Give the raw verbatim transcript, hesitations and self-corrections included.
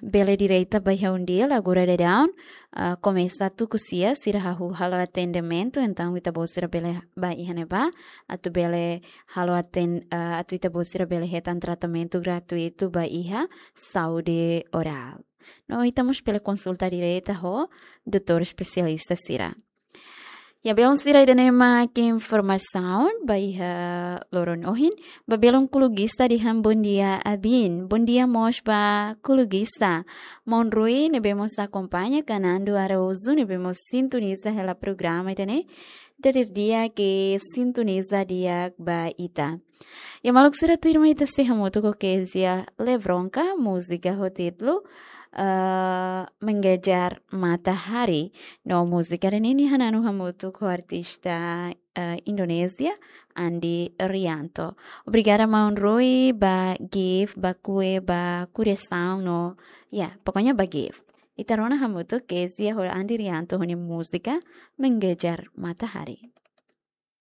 bele direta ba iha UNDIL agora daudaun, ah, komesa tuku sia, sira hahú halo atendimentu, entaun ita-boot sira bele ba iha ne'ebá, atu bele halo aten-, ah, atu ita-boot sira bele hetan tratamentu gratuitu ba iha saúde orál. No ita mós bele konsulta direta ho doutór espesialista sira. Ya, belun sira, ida-ne'e mak informasaun ba iha loron ohin. Ba belun Kulugista dehan bondia abin. Bondia mós ba Kulugista. Maun Rui ne'ebé mós akompaña, Kanando Araújo ne'ebé mós sintoniza hela programa ida-ne'e. Dadeer-di'ak sintoniza di'ak ba ita. Ya, maluk sira, tuirmai ita sei hamutuk ho Kezia Lebronka, múzika ho títulu, eh, Mengejar Matahari. No múzika ida-ne'e nia hananu hamutuk ho artista, eh, Indonézia, Andi Rianto. Obrigada, maun Rui, ba gift, ba kue, ba kuriasaun, no, ya, pokoknya ba gift. Ita rona hamutuk Kezia ho Andi Rianto ho nia múzika Mengejar Matahari.